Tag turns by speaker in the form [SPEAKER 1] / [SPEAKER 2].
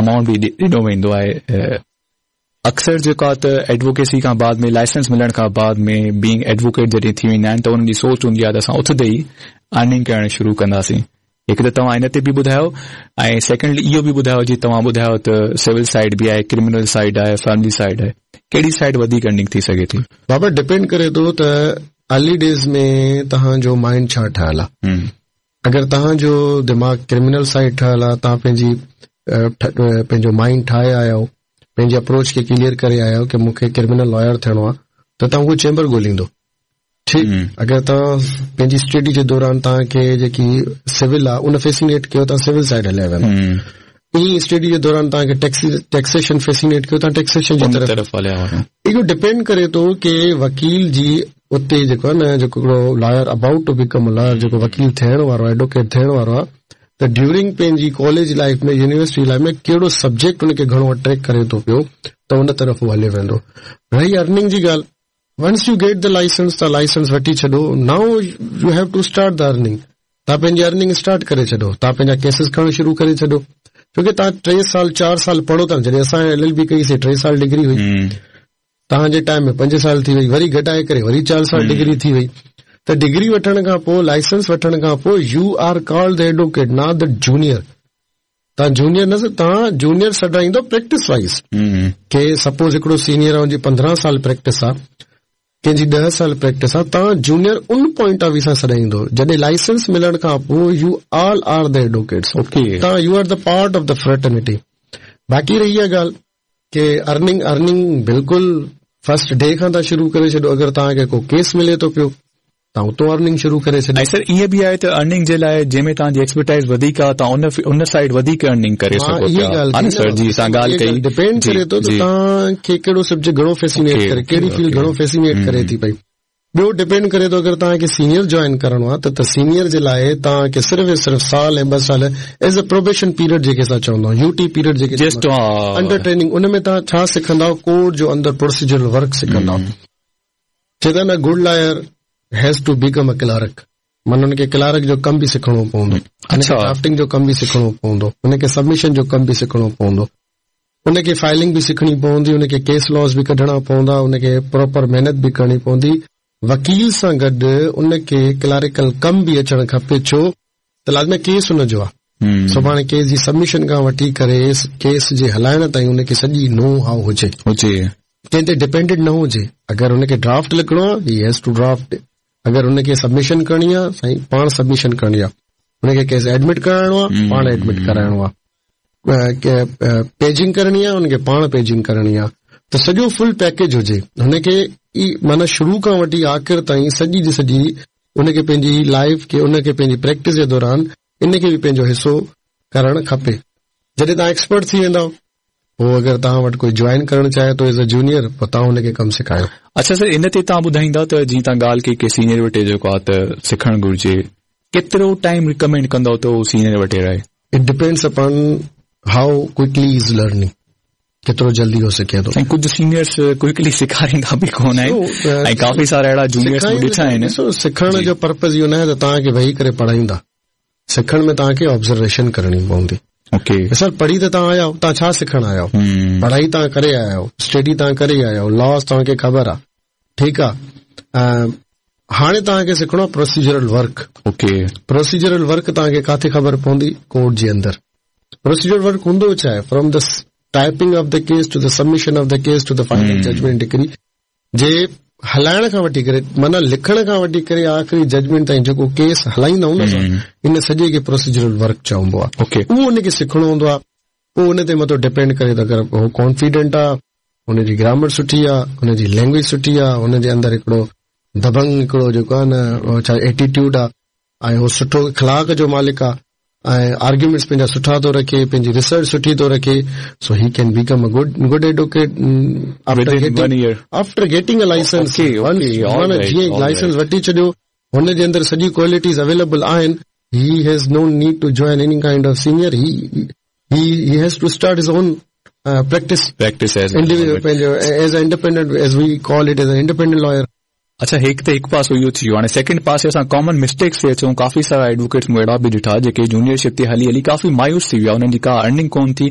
[SPEAKER 1] Amount به ڏنو ويندو آهي. اڪثر جيڪو آهي ته ايڊووڪيسي کان بعد ۾ لائسنس ملڻ کان بعد ۾ بينگ ايڊووڪيٽ جڏهن ٿي ويندا آهن ته انهن جي سوچ هوندي آهي ته اسان اٿندي ئي ارننگ ڪرڻ شروع ڪنداسين. هڪ ته توهان ان تي به ٻڌايو ۽ سيڪنڊلي اهو به ٻڌايو جي توهان ٻڌايو ته سول سائيڊ به آهي ڪرمنل سائيڊ آهي فيملي سائيڊ آهي ڪهڙي سائيڊ وڌيڪ ارننگ ٿي سگهي ٿي؟
[SPEAKER 2] بابا ڊپينڊ ڪري ٿو ته ارلي ڊيز ۾ توهان جو مائنڊ ڇا ٺهيل آهي. اگر توهان جو دماغ ڪرمنل سائيڊ ٺهيل آهي توهان پنهنجي پنهنجو مائنڊ ٺاهي آيا آهيو پنهنجي اپروچ کي ڪليئر ڪري آيا آهيو ڪي مون کي ڪرمنل لائر ٿيڻو آهي ته توهان اهو چيمبر ڳوليندو ٺيڪ اگر توهان پنهنجي اسٽڊي جي دوران توهان کي جيڪي سول آهي ان فيسينيٽ ڪيو توهان سول سائيڊ هليا ويندا ائين اسٽڊي جي دوران توهان کي ٽيڪسيشن فيسينيٽ ڪيو توهان ٽيڪسيشن جي
[SPEAKER 1] طرف هليا وڃو
[SPEAKER 2] اهو ڊپينڊ ڪري ٿو ڪي وڪيل جي اتي جيڪو آهي نه جيڪو هڪڙو lawyer about to become a lawyer جيڪو وڪيل ٿيڻ وارو آهي ايڊووڪيٽ ٿيڻ وارو آهي ته ڊيورنگ پنهنجي ڪاليج لائيف ۾ يونيورسٽي لائيف ۾ ڪهڙو سبجيڪٽ ان کي گهڻو اٽريڪٽ ڪري ٿو پيو ته ان طرف هو هلي ويندو. رهي ارننگ جي ڳالهه once you get the licence تان لائسنس وٺي ڇڏو now you have to start the earning تان پنهنجي ارننگ اسٽارٽ ڪري ڇڏو تان پنهنجا ڪيسز کڻڻ شروع ڪري ڇڏو ڇو ڪي تان ٽي سال چار سال پڙهو ٿا جڏهن اسان ايل ايل بي ڪئي سي ٽي سال ڊگري هئي توهان جي ٽائيم ۾ پنج سال ٿي وئي وري گهٽائي ڪري وري چار سال ڊگري ٿي وئي ته ڊگري وٺڻ کان پوء لائسنس وٺڻ کان پوء you are called the advocate not the junior تان جونيئر نه تان جونيئر سڏرائيندو پريڪٽس وائز ڪي سپوز هڪڙو سينيئر آ ان جي 15 سال پريڪٽس آ ڪنهن جي 10 سال پريڪٽس آ تان junior in point of view سان سڏائيندو جڏهن لائسنس ملڻ کان پوء you all are the advocates تان you are the part of the fraternity باقي رهي اها ڳالهه ڪي ارننگ ارننگ بلڪل فرسٽ ڊي کان تان شروع ڪري ڇڏو اگر توهان کي ڪو ڪيس ملي ٿو پيو تان اتو ارننگ شروع ڪري ڇڏيو.
[SPEAKER 1] ۽ سر ائين به آهي ته ارننگ جي لاء جنهن ۾ توهان جي ايڪسپرٽائيز وڌيڪ آهي توهان ان ان سائيڊ وڌيڪ ارننگ ڪري سگهو پيا ها نه سر جي اسان ڳالهه ڪئي
[SPEAKER 2] ڊپينڊ ڪري ٿو ته توهان کي ڪهڙو سبجيڪٽ گهڻو فيسينيٽ ڪري ڪهڙي فيلڊ گهڻو فيسينيٽ ڪري ٿي پئي. ٻيو ڊپينڊ ڪري ٿو اگر توهان کي سينيئر جوائن ڪرڻو آهي ته ته سينيئر جي لاء توهان کي صرف ۽ صرف سال ۽ ٻه سال ايز اي پروبيشن پيريڊ جيڪي اسان چوندا آهيون يو ٽي پيريڊ جيڪي انڊر ٽريننگ ان ۾ توهان ڇا سکندا ڪورٽ جو اندر پروسيجرل ورڪ سکندا چوندا آهن good lawyer has to become a clerk معنيٰ ان کي ڪلارڪ جو ڪم به سکڻو پوندو ان کي ڊرافٽنگ جو ڪم به سکڻو پوندو ان کي سبمشن جو ڪم به سکڻو پوندو ان کي فائلنگ به سکڻي پوندي، ان کي ڪيس لاز به ڪڍڻا پوندا، ان کي پراپر محنت به ڪرڻي پوندي، وڪيل سان گڏ ان کي ڪلاريڪل ڪم به اچڻ کپي ڇو ته لازمي ڪيس ان جو آ، سڀاڻي ڪيس جي سبمشن کان وٺي ڪري ڪيس جي هلائڻ تائين ان کي سڄي نو هائو هجي.
[SPEAKER 1] هجي.
[SPEAKER 2] ڪنهن تي ڊپينڊنٽ نه هجي، اگر ان کي ڊرافٽ لکڻو آ هي هيز ٽو ڊرافٽ، اگر ان کي سبمشن ڪرڻي آ سائين پاڻ سبمشن ڪرڻي آ، ان کي ڪيس ايڊمٽ ڪرائڻو آ پاڻ ايڊمٽ ڪرائڻو آ. پيجنگ ڪرڻي آهي ان کي پاڻ پيجنگ ڪرڻي آهي ته سڄو فل پيڪيج هجي هن کي ئي معنيٰ شروع کان وٺي آخر تائين سڄي جي سڄي ان کي پنهنجي لائيف کي ان کي پنهنجي پريڪٽس جي دوران ان کي به پنهنجو حصو ڪرڻ کپي جڏهن توهان ايڪسپرٽ ٿي ويندؤ پوء اگر توهان وٽ ڪوئي جوائن ڪرڻ چاهي ٿو ايز اي جونيئر پوء توهان ان کي ڪم سکايو.
[SPEAKER 1] اڇا سر ان تي توهان ٻڌائيندا ته جيئن توهان ڳالهه ڪئي ڪي سينيئر وٽ جيڪو آهي ته سکڻ گهرجي ڪيترو ٽائيم ريڪمينڊ ڪندؤ ته هو سينيئر وٽ رهي؟
[SPEAKER 2] It depends upon how quickly he is learning ڪيترو جلدي هو سکي ٿو.
[SPEAKER 1] سائين ڪجهه سينيئرس ڪوئڪلي سيکاريندا به ڪونه آهن ۽ ڪافي سارا اهڙا جونيئرس مون ڏٺا آهن.
[SPEAKER 2] ڏسو سکڻ جو پرپز اهو ناهي ته توهان کي ويهي ڪري پڙهائيندا سکڻ ۾ توهان کي آبزرويشن ڪرڻي پوندي.
[SPEAKER 1] اوڪي.
[SPEAKER 2] سر پڙهي ته توهان آيا آهيو توهان ڇا سکڻ آيا آهيو پڙهائي توهان ڪري آيا آهيو اسٽڊي توهان ڪري آيا آهيو لاز توهان کي خبر آهي ٺيڪ آ هاڻي توهان کي سکڻو آ procedural work.
[SPEAKER 1] Okay.
[SPEAKER 2] Procedural work توهان کي ڪاٿي خبر پوندي ڪورٽ جي اندر. پروسيجرل ورڪ هوندو ڇا آهي from the typing of the case to the submission of the case to the final judgment decree جي هلائڻ کان وٺي ڪري معنيٰ لکڻ کان وٺي ڪري آخري ججمينٽ تائين جيڪو ڪيس هلائيندا آهيون نه اسان ان سڄي کي پروسيجرل ورڪ چئبو آ.
[SPEAKER 1] اوڪي.
[SPEAKER 2] اهو ان کي سکڻو هوندو آ پوء ان تي مٿو ڊپينڊ ڪري ٿو اگر هو ڪانفيڊنٽ آ هن جي گرامر سٺي آ، هن جي لينگويج سٺي آ، هن جي اندر هڪڙو دبنگ هڪڙو جيڪو آ نه ڇا ايٽيٽيوڊ آ ۽ هو سٺو اخلاق جو مالڪ آ ۽ آرگيومينٽس پنهنجا سٺا ٿو رکي، پنهنجي ريسرچ سٺي ٿو رکي سو هي ڪين become a good good advocate after getting after getting a licence معنيٰ جيئن لائسنس وٺي ڇڏيو هن جي اندر سڄي ڪوالٽيز اويليبل آهن he has no need to join any kind of senior he he has to start his own practice
[SPEAKER 1] practice
[SPEAKER 2] as پنهنجو as independent as we call it as independent lawyer.
[SPEAKER 1] اڇا هڪ ته هڪ پاسو اهو ٿي ويو هاڻي سيڪنڊ پاسي اسان ڪامن مسٽيڪس تي اچون ڪافي سارا ايڊووڪيٽس مون اهڙا به ڏٺا جيڪي جونيئر شپ تي هلي هلي ڪافي مايوس ٿي ويا انهن جي ڪا ارننگ ڪون ٿي.